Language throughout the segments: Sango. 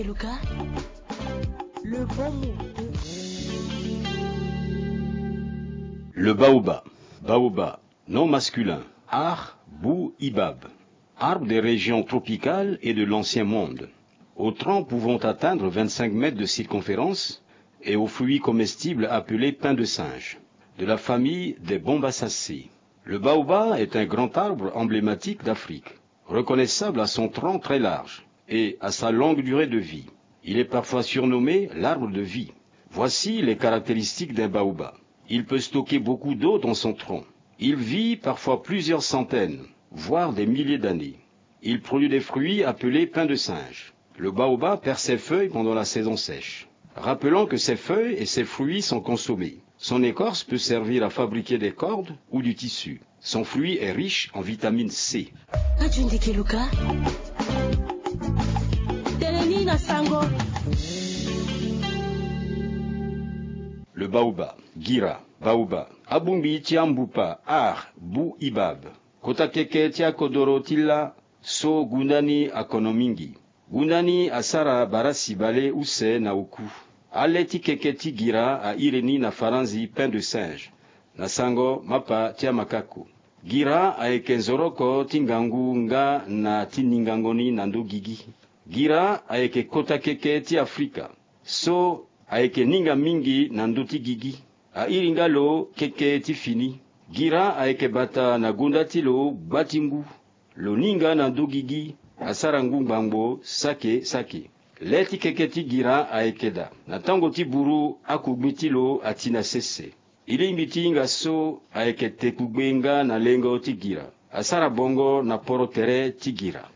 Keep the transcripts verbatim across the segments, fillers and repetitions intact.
Lucas, le bon mot. Le baobab, baobab, nom masculin, Ar bou ibab, arbre des régions tropicales et de l'ancien monde, aux troncs pouvant atteindre vingt-cinq mètres de circonférence et aux fruits comestibles appelés pain de singe, de la famille des Bombaceae. Le baobab est un grand arbre emblématique d'Afrique, reconnaissable à son tronc très large et à sa longue durée de vie. Il est parfois surnommé l'arbre de vie. Voici les caractéristiques d'un baobab. Il peut stocker beaucoup d'eau dans son tronc. Il vit parfois plusieurs centaines, voire des milliers d'années. Il produit des fruits appelés pain de singe. Le baobab perd ses feuilles pendant la saison sèche. Rappelons que ses feuilles et ses fruits sont consommés. Son écorce peut servir à fabriquer des cordes ou du tissu. Son fruit est riche en vitamine C. Ajundi Keluka. Teleni na sango. Le baobab, gira, baobab, abongbi ti ambupa, ar, bu ibab. Kota keke ti akodoro ti la so gunda ni akono mingi. Gunda ni asara barasi bale use na oku. Ale ti keke ti gira airi ni na faranzi pain de singe, na sango mapa ti amakako. Gira ayeke nzoroko ti ngangu nga na ti ningango ni na ndö gigi. Gira ayeke kota keke ti Afrika so ayeke ninga mingi na ndö ti gigi. Airi nga lo keke ti fini. Gira ayeke bata na gonda ti lo gba ti ngu. Lo ninga na ndö gigi, asara ngu ngbangbo sake sake. Le ti keke ti gira ayeke daa. Na tango ti buru akogbe ti lo ati na sese. E lingbi ti hinga so ayeke tekugbe nga na lengo ti gira. Asara bongo na poro tere ti gira.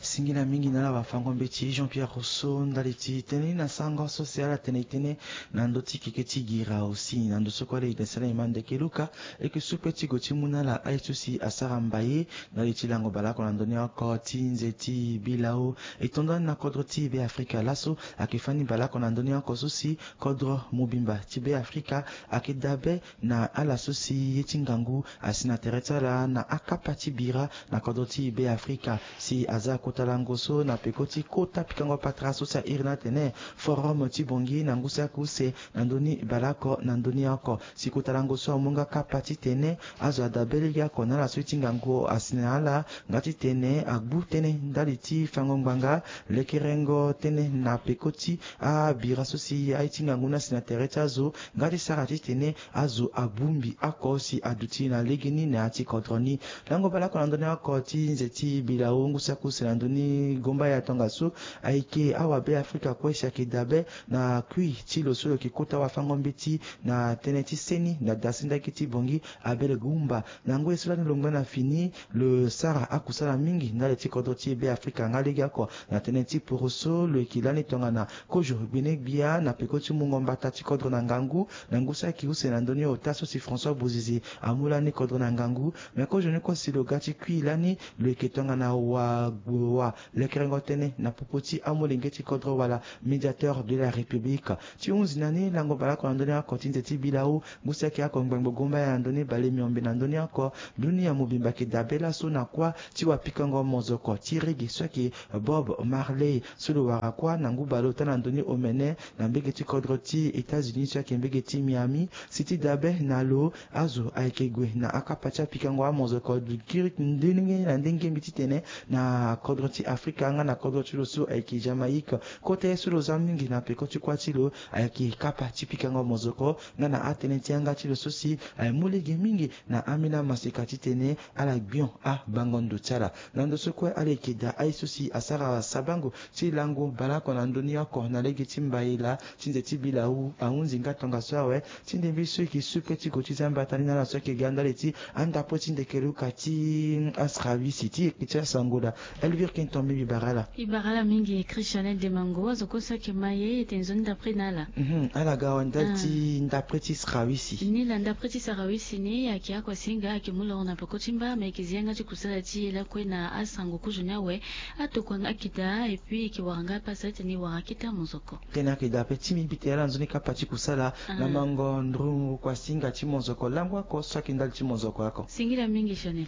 Singila mingi na ala wafango mbeti Jean Pierre Rousseau ndali ti tënë ni na sango so si ala tene e tënë na ndö ti keke ti gira aussi na ndö so kue ala e dasala e ma ndeke Luka. E yeke su pe ti go ti mu na ala aye so si asara mbaye ndali ti lango baleoko na ndö ni oko ti nze ti bilau. E to ndani na kodro ti Beafrika laso ayeke fani baleoko na ndö ni oko so si kodro mobimba ti Beafrika ayeke dabe na ala so si ye ti ngangu asi na tere ti ala na akapa ti bira na kodro ti Beafrika. Si aza kota lango so na peko ti kota pikango patara so si airi ni atene Forum ti Bangui na ngu saki use na ndö ni baleoko na ndö ni oko. Si kota lango so amu nga kapa titene azo adabe legeoko na ala so ye ti ngangu asi na ala nga titene agbu tënë ndali ti fango ngbanga, lekerengo tënë na peko ti abira so si aye ti ngangu ni asi na tere ti azo nga ti sara titene azo abongbi oko si aduti na legeni na ya ti kodro ni. Lango baleoko na ndö ni oko ti nze ti bilau ngu saki use na ndö ni gomba ya tongaso ayeke awabeafrika kue si ayeke dabe na kui ti lo so lo yeke kota wafango mbeti na tënë ti seni na dasinda gi ti Bangui Abel Gumba. Na ngoi so lani lo ngba na fini lo sara akusala mingi ndali ti kodro ti Beafrika nga legeoko na tënë ti poroso lo yeke lani tongana kozo gbene-gbia na peko ti mungo mbata ti kodro na ngangu na ngu saki use na ndö ni ota so si François Bozizé amu lani kodro na ngangu. Me kozo ni kue si lo ga ti kui lani lo yeke tongana wa gbo wa lekerengo tënë na popo ti amolenge ti kodro wala médiateur de la République. Ti hunzi na ni lango baleoko na ndö ni oko ti nze ti bilau ngu saki oko ngbangbo gomba ya na ndö ni bale miombe na ndö ni oko. Dunia mobimba ayeke dabe laso na kuâ ti wapikango mozoko ti rege so ayeke Bob Marley so lo wara kuâ na ngu bale ota na ndö ni omene na mbege ti kodro ti États-Unis so ayeke mbege ti Miami. Si ti dabe na lo azo ayeke gue na akapa ti apikango amozoko giri ndenge na ndenge mbi titene na kodro ti Afrika nga na kodro ti lo so ayeke Jamaïque. Kota ye so lo za mingi na peko ti kuâ ti lo ayeke kapa ti pikango mozoko nga na atënë ti yanga ti lo so si aye mu lege mingi na ambeni amaseka titene ala gbion abango ndo ti ala. Na ndo so kue ala yeke daa aye so si asara sabango ti lango baleoko na ndö ni oko na lege ti mbayela ti nze ti bilau ahunzi nga tongaso awe. Ti ndembe so e yeke su pe ti go ti za mbata ni na ala so ayeke ga ndali ti andapo ti ndeke luka ti asra wisi ti yeke ti asango daa. Elvire Kenton mbi bara ala. Mbi bara ala mingi Christiane Demango azo kue so ayeke maye e tene nzoni ndapre na ala. Mhm, ala ga awe ndali ti ndapre ti sra wisi. Ni laa ndapre ti sra wisi ni ayeke oko asinga ayeke mu loro na peko ti mba me yeke zi yanga ti kusala ti e lakue na asango kozo ni awe. Atokua nga ayeke daa et puis e yeke wara nga apasa titene e wara akete amozoko. Tënë ayeke daa ape ti mbi mbi tene ala nzoni kapa ti kusala. Na mango ndrungu kua singa ti mozoko lango oko so ayeke ndali ti mozoko oko. Singila mingi Chanel.